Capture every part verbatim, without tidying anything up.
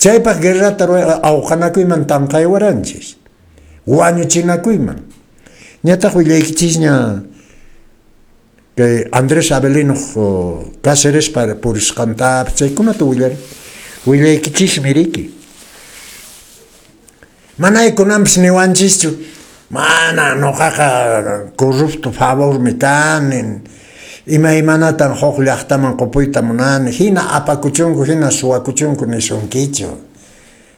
Chaypaq guerrata awqanakuyman tanqaywaranchis, wañuchinakuyman. Ñataq willaykichisña kay Andrés Avelino Cácerespa purisqantapas chaykunata willari. Willaykichismi riki. Manay kunanpis niwanchischu, mana nuqaqa corrupto favormi kani, imaymanatan huk llaqtaman qupuyta munani, hina apakuchunku, hina suwakuchunku nisunkichu.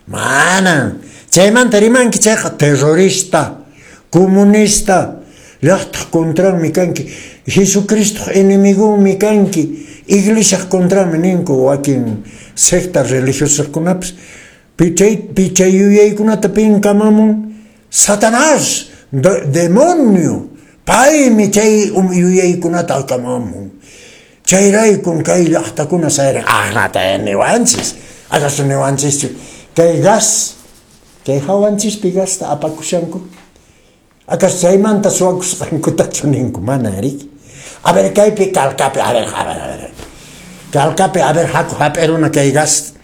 Manan. Chaymanta rimanki chayqa terrorista, comunista, llaqtaq contranmi kanki, Jesucristoq enemigonmi kanki, iglesiaq contranmi ninku wakin secta religiosakunapas. Pichay, pichay yuyaykunata pin kamamun Satanás, de, demonio, paymi chay yuyaykunata kamamun. Chayraykun kay llaqtakuna sayrin, aqnata niwanchis, acaso niwanchischu, kay gas, kay hawanchispi gasta apakushanku, acaso chaymanta suwakusqankutachu ninku, mana riki. A ver, kaypi Calcapi, a ver, a ver, a ver, Calcapi, a ver, haku hap'iruna kay gas,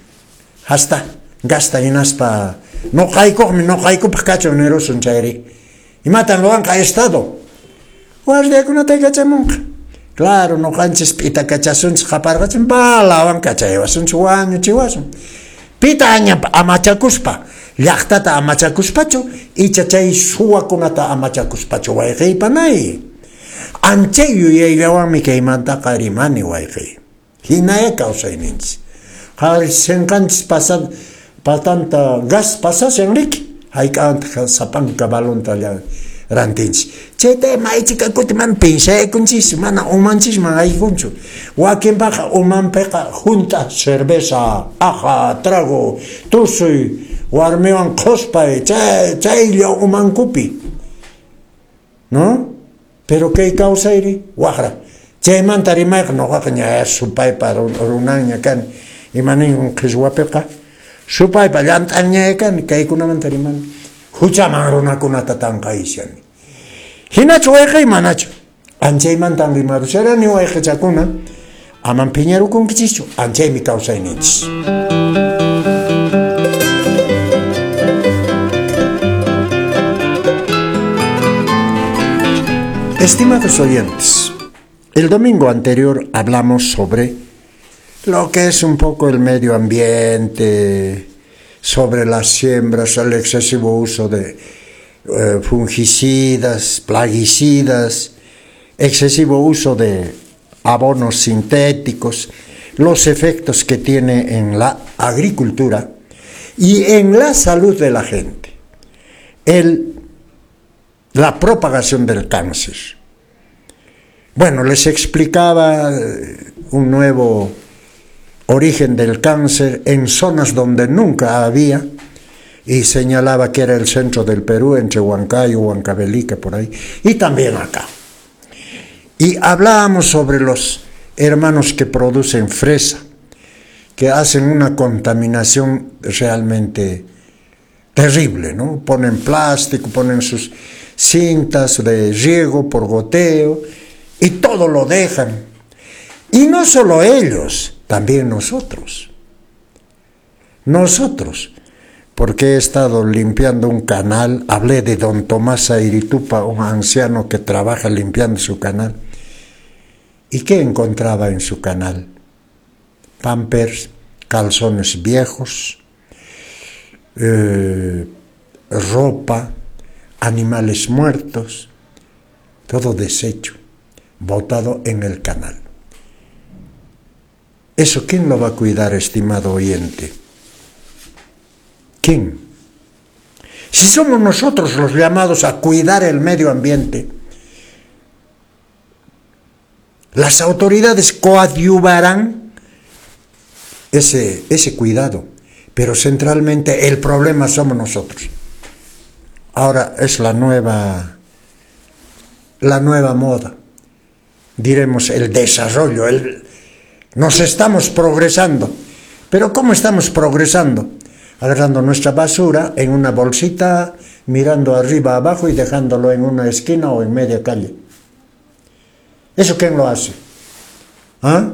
hasta, gasta hinaspa, nuqaykuqmi, nuqaykupaq kachun nirusun chayri. Imatan ruwanqa Estado? Guardiakunata kachamunqa. Claro, nuqanchis p'ita kachasunchis qaparqachin, balawan kachaywasunchis, wañuchiwasun. Pita aña amachakuspa, llaqtata amachakuspachu, icha chay suwakunata amachakuspachu wayqiypanay. Anchay yuyayllawanmi kaymantaqa rimani wayqiy. Hinaya kawsayninchis. Qhawarisqanchis pasad patanta gas pasashan riki, hayk'awantaq sapanka balonta rantinchis. Chayta maychika kuti mana pinsaykunchis, mana umanchisman haykunchu. Wakinpaqa umanpiqa junta cerveza, aja, trago, tusuy, warmiwan qhuspay, chay chaylla umankupi. ¿No? Pero kay kawsayri waqra. Chaymanta rimayqa nuqaqa ña supaypa runanña kani. Imanin qhichwapiqa supaypa llant'anña kani kaykunamanta rimani. Huchaman runakunata tanqayshani. Hinachu wayqey manachu. Anchaymantan rimarusharani wayqichakuna, aman phiñarukunkichischu, anchaymi kawsayninchis. Estimados oyentes, el domingo anterior hablamos sobre lo que es un poco el medio ambiente, sobre las siembras, el excesivo uso de eh, fungicidas, plaguicidas, excesivo uso de abonos sintéticos, los efectos que tiene en la agricultura y en la salud de la gente. El, la propagación del cáncer. Bueno, les explicaba un nuevo origen del cáncer en zonas donde nunca había, y señalaba que era el centro del Perú, entre Huancayo, Huancavelica, por ahí, y también acá. Y hablábamos sobre los hermanos que producen fresa, que hacen una contaminación realmente terrible, ¿no? Ponen plástico, ponen sus cintas de riego por goteo, y todo lo dejan. Y no solo ellos, también nosotros. Nosotros, porque he estado limpiando un canal, hablé de don Tomás Airitupa, un anciano que trabaja limpiando su canal. ¿Y qué encontraba en su canal? Pampers, calzones viejos, eh, ropa, animales muertos, todo desecho, botado en el canal. ¿Eso quién lo va a cuidar, estimado oyente? ¿Quién? Si somos nosotros los llamados a cuidar el medio ambiente, las autoridades coadyuvarán ese, ese cuidado, pero centralmente el problema somos nosotros. Ahora es la nueva, la nueva moda, diremos el desarrollo, el, nos estamos progresando. Pero ¿cómo estamos progresando? Agarrando nuestra basura en una bolsita, mirando arriba, abajo y dejándolo en una esquina o en media calle. ¿Eso quién lo hace? ¿Ah?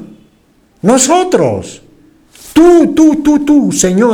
Nosotros. Tú, tú, tú, tú, señora.